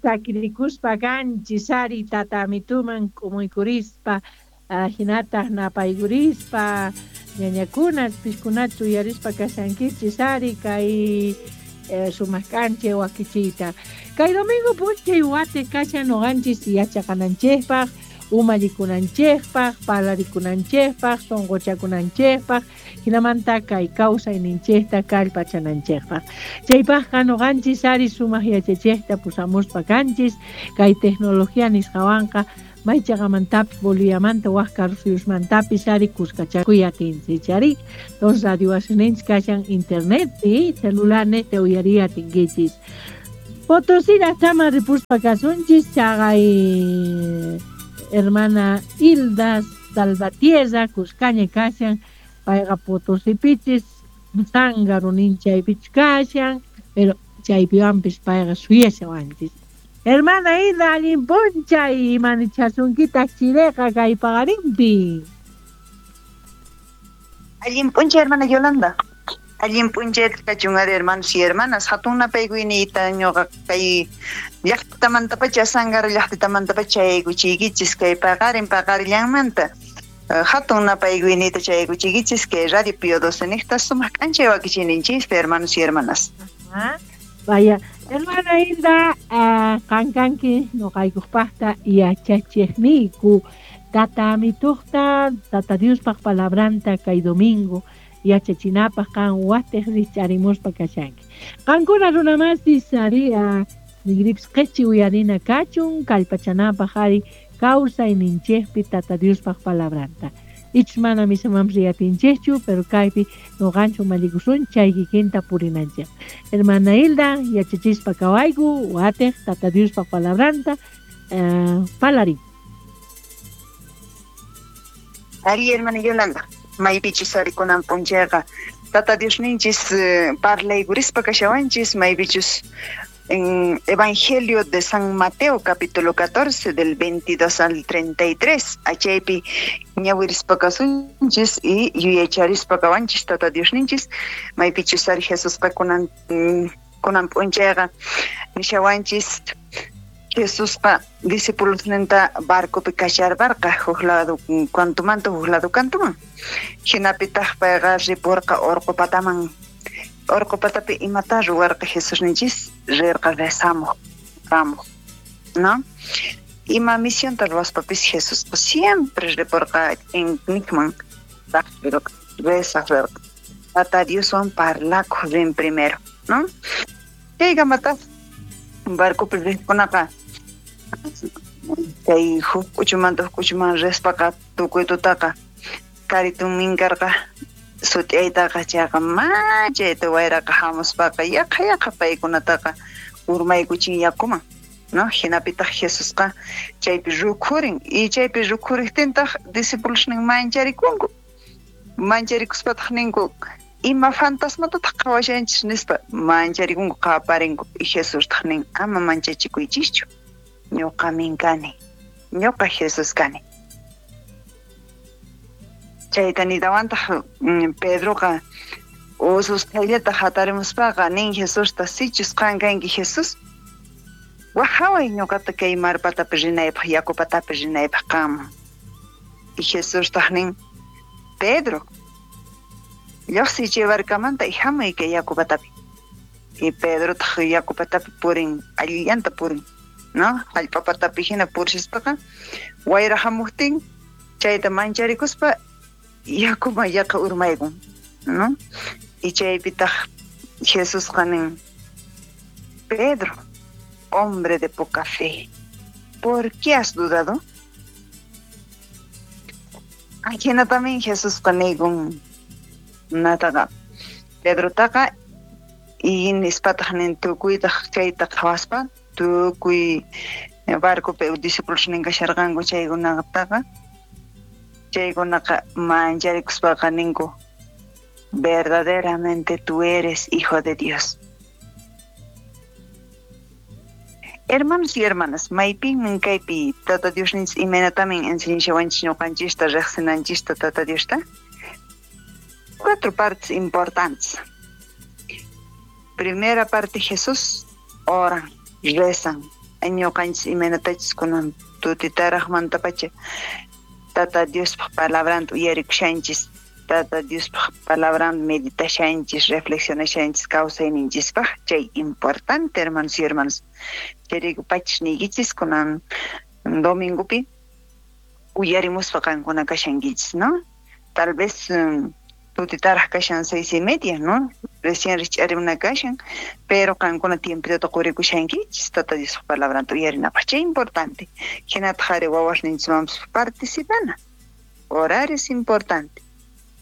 Chakirikuspa kanchis ari tata amituman k'umuykurispa, hinataq napaykurispa, ñañakuna piskunachu uyarispa kashankichis ari kay sumaq k'anchay wakichiyta. Kay domingo p'unchay watiq kashan noqanchis yachaqananchikpaq, umallikunanchikpaq, parlarikunanchikpaq, sunquchakunanchikpaq, hinamanta kay kawsayninchikta kallpachananchikpaq. Chaypaqqa noqanchis ari sumaq yachachiqta pusamuspa kanchis, kay tecnología nisqawanqa maychaqamantapis Boliviamanta wak karusuyusmantapis ari kuskachakuy atinchis ari. Entonces radio wasininchis kashan internetpi, celular niqta uyariy atinkichis. Potosí llaqtaman ripuspa kasunchis chaqay hermana Hilda Salvatierra kuskaña kashan, payqa Potosipichis Zángaro nin chaypichus kashan, pero chaypiwanpis payqa suyashawanchis. Hermana Hilda, allin p'unchay, imanichasunkitaq chireqa kay paqarinpi. Allin p'unchay, hermana Yolanda. Allin p'unchay kachun ari, hermanos y hermanas. Hatun napaykuyniyta ñuqa kay llaqtamantapacha, Zángaro llaqtitamantapacha chayaykuchiykichis kay paqarin paqarillanmanta. Hatun napaykuyniyta chayaykuchiykichis kay Radio Pío XII niqta sumaq k'anchay wakichiyninchis, hermanos y hermanas. Vaya, hermana Hilda, qan kanki noqaykuqpaqta yachachiqniyku. Tata amituqta, Tata Diospaq palabranta kay domingo yachachinapaq qan watiq rich'arimuspa kashanki. Qankuna runamasis ari nigripis qichi uyarina kachun kallpachanapaq ari kawsayninchikpi Tata Diospaq palabranta. Ichus mana misamanpis riyatinchikchu, pero kaypi noqanchik umallikusun chay kikinta purinanchik. Hermana Hilda, yachachispa kawayku watiq Tata Diospaq palabranta parlarin. Ari, hermana Yolanda, maypichus ari kunan p'unchayqa Tata Diosninchis parlaykurispa kashawanchis, maypichus en Evangelio de San Mateo capítulo 14 del 22 al 33 achaypi ñawirispa kasunchis y yuyacharispa kawanchis Tata Diosninchis, maypichus ari Jesusqa kunan kunan p'unchayqa nishawanchis Jesusqa discipulosninta barcopi kacharparqa huk lado kantumanta huk lado kantuman. Hinapitaq payqa ripurqa orqo pataman. Orqo patapi imata ruwarqa Jesusninchis? Rirqa rezamuq, ramuq, ¿no? Ima misionta ruwaspapis Jesusqa siempre ripurqa ch'innikman rezaq rirqa. Tata Dioswan parlakuq rin primero, ¿no? Chaykamataq barcopi riqkunaqa chay huk k'uchumanta huk k'uchuman rispaqa tukuy tutaqa karitun minkarqa sut'iyaytaqa chayqa machayta wayraqa hamuspaqa yaqa yaqa paykunataqa urmaykuchin yakuman, ¿no? Hinapitaq Jesusqa chaypi rukhurin y chaypi rukhuriqtintaq discipulosnin mancharikunku. Mancharikuspataq ninku ima fantasmatataq qhawashanchis nispa mancharikunku qaparinku y Jesustaq nin ama manchachikuychischu, ñuqamin kani, ñuqa Jesús kani. Chayta nitawantaq Pedroqa ususqhayllata hatarimuspaqa nin Jesusta, sichus qan kanki Jesús, waqhaway ñuqata kay mar patapi rinaypaq, yaku patapi rinaypaq qanman. Y Jesustaq nin, Pedro, lluqsiy chay barcamanta y hamuy kay yaku patapi. Y Pedrotaq yaku patapi purin, allillanta purin, ¿no? Hallp'a patapi hina purispaqa wayra hamuqtin chayta mancharikuspa yakuman yaqa urmaykun, ¿no? Y chaypitaq Jesusqa nin, Pedro, hombre de poca fe, ¿por qué has dudado? Ajinatamin Jesusqa niykun nataqa Pedrotaqa y nispataq nin tukuytaq chayta qhawaspa tukuy barcopi discipulosnin kasharqanku chaykunataqa chaykunaqa mancharikuspaqa ninku verdaderamente tú eres hijo de Dios. Hermanos y hermanas, maypinmin kaypi Tata Diosninchis imaynatamin enseñashawanchis ñuqanchista riqsinanchista Tata Diosta? Cuatro partes importantes. Primera parte, Jesús oran, rezan. Ñuqanchis imaynatachus kunan tutitaraqmantapacha Tata Diospaj palabranta uyarikushanchis, Tata Diospaj palabranta meditashanchis, reflexionashanchis kawsayninchispaj, chay importante, hermanos y hermanas. Chayrayku pachis niykichis kunan domingopi uyarimuspa qankuna kashankichis, ¿no? Tal vez tutitaraj kashan 6:30, ¿no? Recién rich'arimuna kashan, pero qankuna tiempitota qurikushankichis Tata Diospaj palabranta uyarinapaj, chay importante. Hinataq ari wawasninchikmanpis participana. Orar es importante.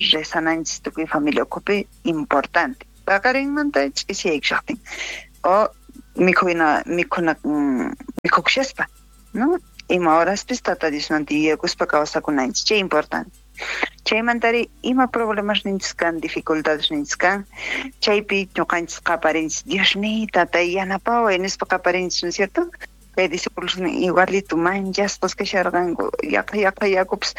Rezananchis tukuy familia ukhupi importante. Paqarinmanta ch'isiyaykushaqtin o mikhuna mikhuna mikhukushaspa, ¿no? Ima horaspis Tata Diosmanta yuyakuspa kawsakunanchis, chay importante. Chaymantari ima problemas ninchis kan, dificultades ninchis kan, chaypi ñuqanchis qaparinchis, Diosniy, tatay yanapaway nispa qaparinchis, ¿no es cierto? Kay discípulos igualito manchasqas kasharqanku, yaqa yaqa yakupis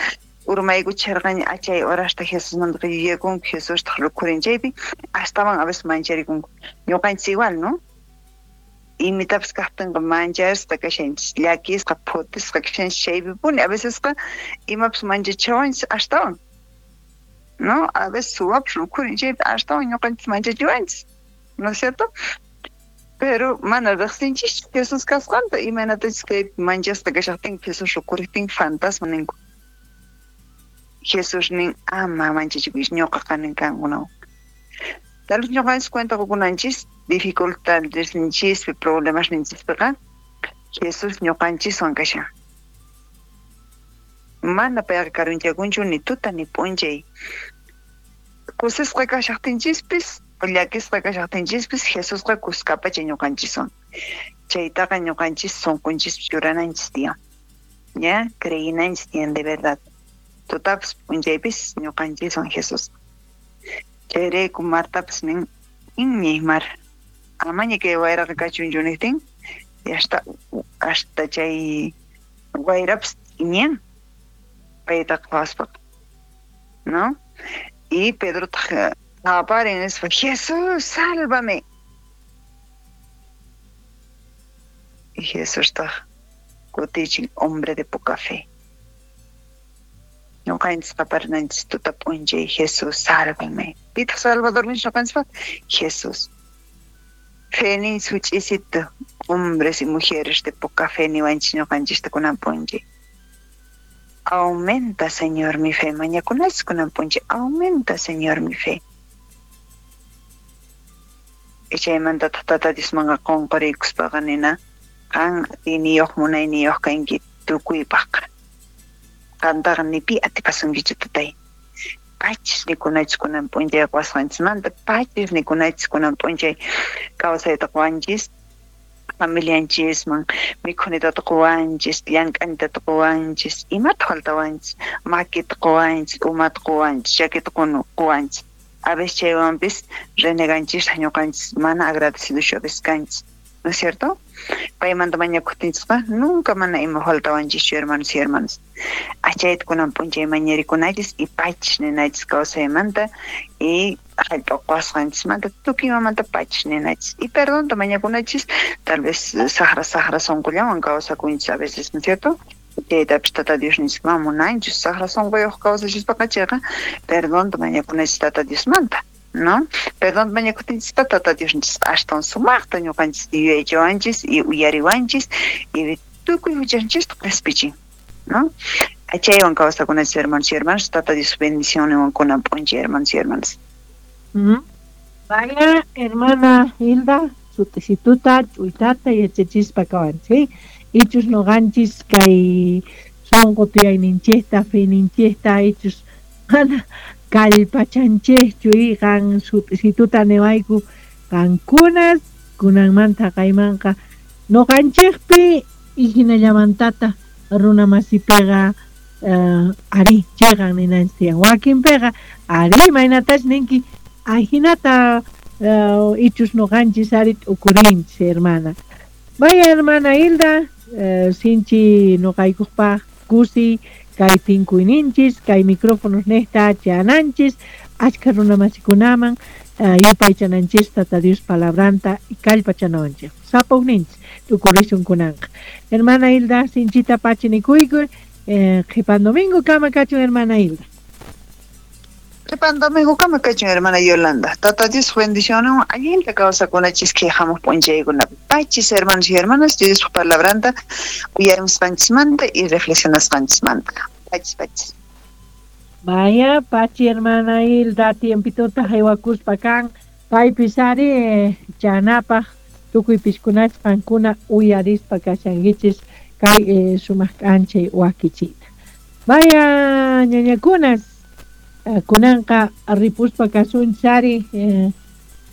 urmaykuchisharqaña, achay horasta Jesusmantaqa yuyakunku, Jesustaq rukhurin chaypi, astawan a veces mancharikunku. Ñuqanchis igual, ¿no? Imitapis kaqtinqa manchasqa kashanchis, llakisqa, phutisqa kashanchis chaypipuni, a vecesqa imapis manchachiwanchis astawan, ¿no? A veces suwapis rukhurin chaypi astawan ñuqanchis manchachiwanchis, ¿no es cierto? Pero mana riqsinchischu Jesús kasqanta, imaynatachus kaypi manchasqa kashaqtinku Jesús rukhurejtin fantasma ninku. Jesús nin, ama manchachikuychis, ñuqa kanin kankunawan. Tal vez ñuqanchis cuenta qokunanchis dificultadesninchispi, problemasninchispiqa Jesús ñuqanchiswan kashan. Mana payqa karunchakunchu ni tuta ni p'unchay. Kusisqa kashaqtinchispis, llakisqa kashaqtinchispis Jesusqa kuskapacha ñuqanchiswan. Chaytaqa ñuqanchis sunqunchispi churananchis tiyan. Ya, creyinanchis tiyan de verdad. Tutapis p'unchaypis ñuqanchiswan Jesús. Chayrayku Martapis nin, iñiy mar, amaña kay wayraqa kachunchu niqtin, hasta hasta chay wayrapis iñiyan paytaqa qhawaspaqa, ¿no? Y Pedrotaq qaparin nispa, Jesús, sálvame. Y Jesustaq kutichin, hombre de poca fe. Ñuqanchis qaparinanchis tuta p'unchay, Jesús, sálvame. Pitaq Salvadorninchis ñuqanchispaq? Jesús. Feninchis huch'isito, hombres y mujeres de poca fe niwanchis ñuqanchista kunan p'unchay. Aumenta, Señor, mi fe. Mañakunachis kunan p'unchay. Aumenta, Señor, mi fe. Chaymantataq Tata Diosmanqa qonqoriykuspaqa nina, qan atiyniyuq munayniyuq kanki tukuypaqqa. Qantaqa ni pi atipasunkichu tatay. Pachis nikunachis kunan p'unchay qowasqanchismanta, pachis nikunachis kunan p'unchay kawsayta qowanchis, familianchisman mikhunitata qowanchis, llank'anitata qowanchis, imata faltawanchis, makita qowanchis, umata qowanchis, chakita qowanchis. A veces chaywanpis reneganchistaj ñuqanchis mana agradecidochu a veces kanchis, ¿no es cierto? Paymanta mañakuqtinchisqa nunca mana ima faltawanchischu, hermanos y hermanas. Achayta kunan p'unchay mañarikunachis y pachis ninachis kawsaymanta y hallp'a qowasqanchismanta tukuy imamanta pachis ninachis. Y perdonta mañakunachis, tal vez saqra saqra sunqullawan kawsakunchis a veces, ¿no es cierto? Chaytapis Tata Diosninchis mana munanchu, saqra sunquyuq kawsashispaqa chayqa perdonta mañakunachis Tata Diosmanta, ¿no? Perdonta mañakuqtinchispa Tata Diosninchisqa astawan sumaqta ñuqanchis yuyaychawanchis y uyariwanchis y tukuy huchanchista qhispichin, ¿no? Chaywan kawsakunachis, hermanos y hermanas, Tata Dios bendicionninwan kunan p'unchay, hermanos y hermanas. Vaya, hermana Hilda, sutisituta, ch'uytata yachachispa kawanchis, ichus noqanchis kay sunqu tiyayninchikta, feninchikta, ichus mana kallpachanchikchu y qan sutisituta niwayku qankunas kunanmanta kaymanqa noqanchikpi y hinallamantata runa masipiqa ari chiqan ninanchis tiyan, wakinpiqa ari imaynatach ninki ajinata ichus noqanchis ari t'ukurinchis, hermana. Vaya, hermana Hilda, sinchi noqaykupaq kusi kay tinkuyninchis, kay micrófonos nejta chananchis, achka runa masikunaman, Yupaychananchis Tata Dios palabranta kallpachanawanchis. Sapa ujninchis tukurisun kunanqa. Hermana Hilda, sinchita pachi nikuyku, qhipan domingo kama kachun, hermana Hilda. Qhipan domingo kama kachun, hermana Yolanda. Tata Dios bendicionwan allinta kawsakunachis kay hamuq p'unchaykunapi. Pachis, hermanos y hermanas, Diospa palabranta uyarimusqanchismanta y reflexionasqanchismanta. Pachis, pachis. Vaya, pachi, hermana Hilda, tiempituta haywakuspa kan, paypis ari chanapaj tukuy piskunachis qankuna uyarispa kashankichis kay sumaq k'anchay wakichiyta. Vaya, ñañakunas, kunanqa ripuspa kasunchis ari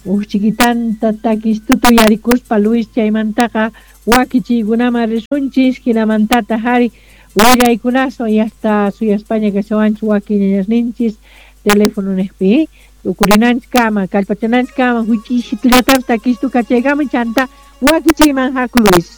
uj chiquitanta takistuta uyarikuspa Luis chaymantaqa wakichiykunaman risunchis, hinamantataq ari willaykunaswan yasta suyaspaña kashawanchis wakin ñañasninchis teléfono niqpi tukurinanchis kama kallpachananchis kama huch'isitullatapas takistu kachaykama chanta wakichiyman haku Luis.